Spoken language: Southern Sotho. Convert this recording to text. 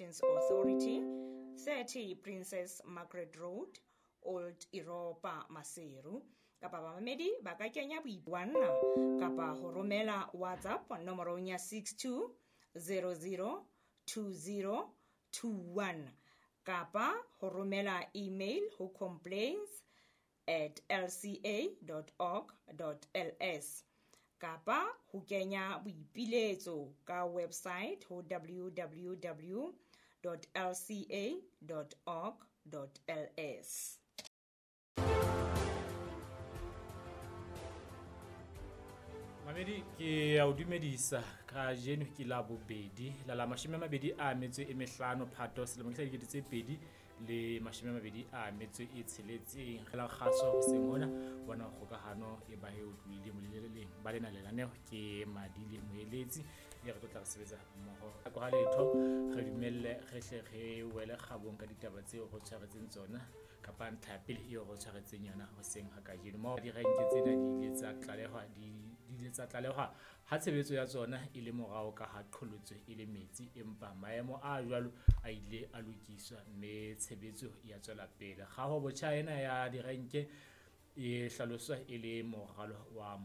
Communications Authority, 30 Princess Margaret Road, Old Europa, Maseru. Kapa bamamedi ba ka kenya boipuanna kapa ho romela WhatsApp nomorong ya 62 00 20 21 kapa ho romela email ho complaints@lca.org.ls kapa ho kenya boipiletso ka website ho www.lca.org.ls. Mamedi, ke a o dumedisa. Kajeno ke la bobedi la 25 Phato selemo ke sa 2026. Re la kgaso hoseng hona bona kgokahano e ba e utlwile moleleleng ba lena lenaneo ke Madile Moeletsi e re tlo tla re sebetsa mmoho ka ha letho re dumelle re hle re wele kgabong ka ditaba tseo re tshwaretseng tsona kapa ntlha ya pele eo re tshwaretseng yona hoseng ha kajeno. Mo direnke tsena di ile tsa tlalehwa di ile tsa tlalehwa ha tshebetso ya tsona e le morao ka ha qholotso e le metsi, empa maemo a jwalo a ile a lokiswa mme tshebetso ya tswela pele. Kgaho botjha ena ya direnke e hlaloswa e le moralo wa